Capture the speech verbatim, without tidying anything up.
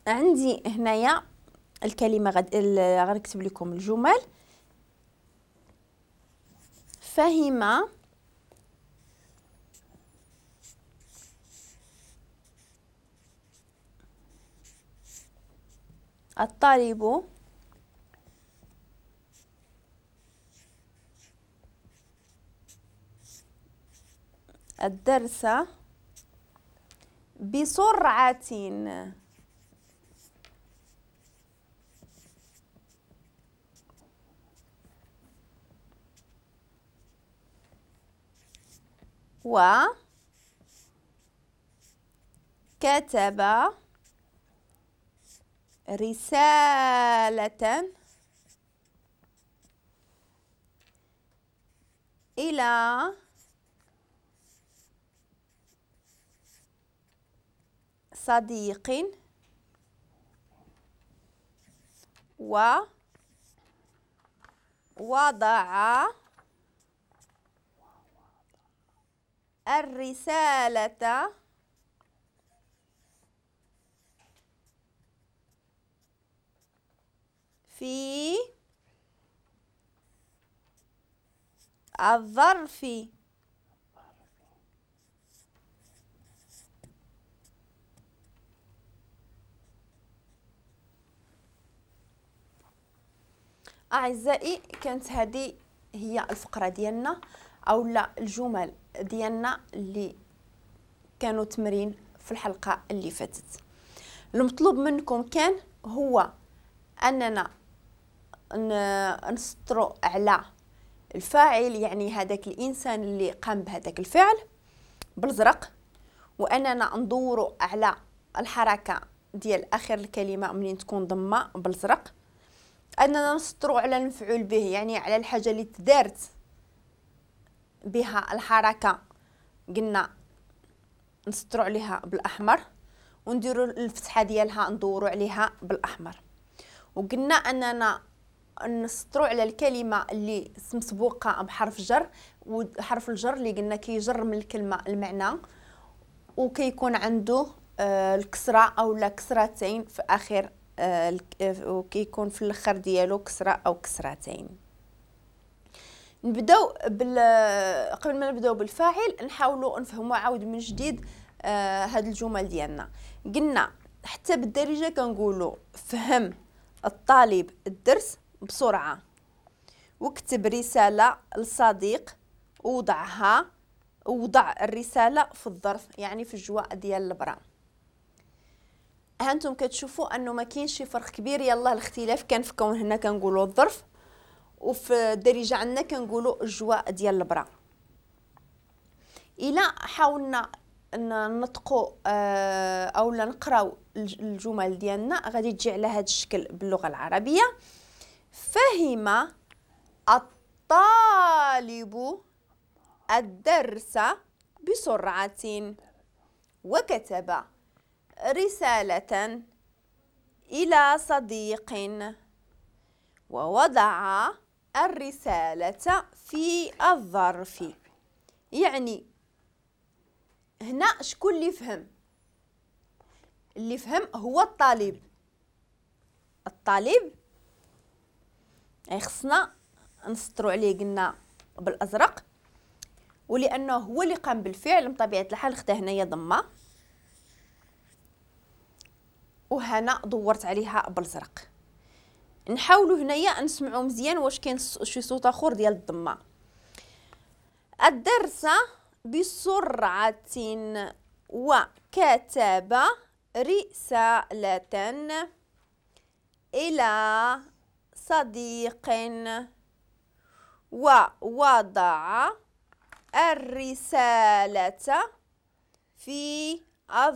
عندي هنايا الكلمة غد... غنكتب لكم الجمل. فهم الطالب الدرس بسرعة. وكتب رسالة إلى صديق ووضع الرسالة في الظرف. أعزائي كانت هذه هي الفقرة ديالنا أو لا الجمل ديالنا اللي كانوا تمرين في الحلقة اللي فاتت. المطلوب منكم كان هو أننا نسطروا على الفاعل، يعني هذاك الإنسان اللي قام بهذاك الفعل بالزرق، وأننا ندوروا على الحركة ديال آخر الكلمة منين تكون ضمة بالزرق، أننا نسطروا على المفعول به، يعني على الحاجة اللي تدارت بها الحركة قلنا نسطروا عليها بالأحمر، ونديروا الفتحة ديالها ندوروا عليها بالأحمر. وقلنا أننا نسطروا على الكلمة اللي مسبوقة بحرف جر، وحرف الجر اللي قلنا كيجر من الكلمة المعنى وكيكون عنده الكسرة أو لا كسرتين في آخر، وكيكون في الاخر ديالو كسرة أو كسرتين. نبداو بال قبل ما نبداو بالفاعل نحاولوا نفهموا عاود من جديد آه هاد الجمل ديالنا. قلنا حتى بالدارجة كنقولوا فهم الطالب الدرس بسرعة وكتب رسالة لصديق ووضعها ووضع الرسالة في الظرف، يعني في الجواء ديال البرا. هانتم كتشوفوا انه ما كاينش شي فرق كبير، يلاه الاختلاف كان في كون هنا كنقولوا الظرف وفي الدارجة عندنا كنقولوا الجواء ديال البرا. الى حاولنا ننطقوا او لا نقراو الجمل ديالنا غادي تجي على هذا الشكل باللغة العربية. فهم الطالب الدرس بسرعة وكتب رسالة إلى صديق ووضع الرسالة في الظرف. يعني هنا شكون اللي فهم؟ اللي فهم هو الطالب. الطالب خصنا نسطروا عليه قلنا بالأزرق، ولأنه هو اللي قام بالفعل بطبيعة الحال خدا هنايا ضمة وهنا دورت عليها بالزرق. نحاولوا هنايا نسمعوا مزيان واش كاين شي صوت اخر ديال الضمة. الدرس بسرعة وكتب رسالة إلى صديق ووضع الرسالة في الظرف.